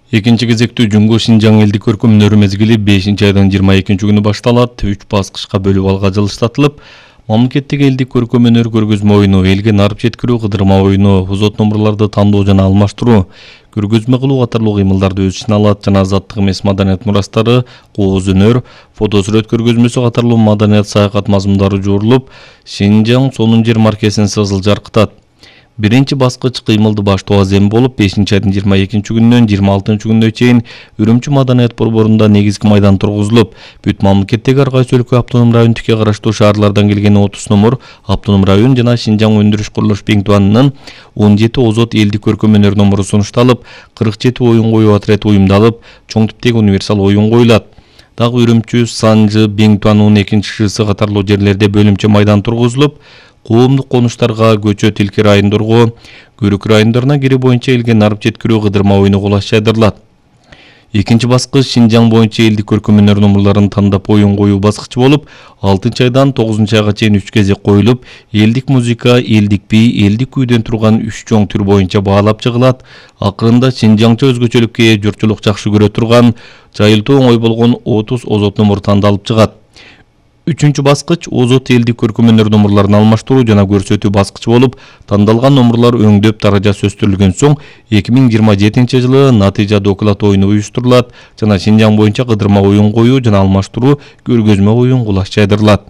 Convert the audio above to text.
Экинчи кезектүү Жуңго Шинжаң элдик көркөмүнөр мезгили 5-айдын 22-күнү башталат. 3 баскычка бөлүп алга жылыштатылып, мамлекеттик элдик көркөмөнөр көргөзмө оюну, элге нарып жеткирүү кыдырма оюну, узот номурларды тандоо жана алмаштыруу, көргөзмө кылуу катарлуу кыймылдарды өз ичине алат жана азаттык эмес маданият мурастары, кооз өнөр, фотосурөт көргөзмөсү катарлуу маданият саякат мазмундары жуурулуп, Шинжаң сонун жер маркесин сызыл жаркытат. Биринчи баскыч кыймылды баштоо азем болуп, 5-айдын 22-күнүнөн 26-күнүнө чейин Үрүмчү маданият борборунда негизги майдан тургузулуп, бүт мамлекеттеги ар кайсы өлкө автоном районундукке караштуу шаарлардан келген 30 номур автоном район жана Шинжаң өндүрүш курулуш Беңтуанынын 17 озот элдик көркөмөнөр номуру сунушталып, 47 оюн коюу отряд уюмдалып, чоң типтеги универсал оюн коюлат. Дагы Үрүмчү, Санжы, Беңтуанынын 2-шысы катарлуу жерлерде бөлүмчө майдан тургузулуп, коомдук конуштарга көчө тилки райондорго, көрүк райондоруна кири боюнча элге нарып жеткирүү кыдырма оюну кулаш жайдырылат. Экинчи баскыч Шинжаң боюнча элдик көркөмөнөр номурларын тандап оюн коюу баскычы болуп, 6-айдан 9-айга чейин 3 кезек коюлуп, элдик музыка, элдик би, элдик күйдөн турган 3 чоң түр боюнча баалап чыгылат. Акырында Шинжаңча өзгөчөлүккө ээ, журтчулук жакшы көрө турган, жайылтуу оңой болгон 30 озот номур тандалып чыгат. 3-чү баскыч озот элдик көркөмөнөр номурларын алмаштыруу жана көрсөтүү баскычы болуп, тандалган номурлар өңдөп даражасы өстүрүлгөн соң 2027-жылы натыйжа доклад оюну уюштурулат жана Шинжаң боюнча кыдырма оюн коюу жана алмаштыруу көргөзмө оюн кулаш жайдырылат.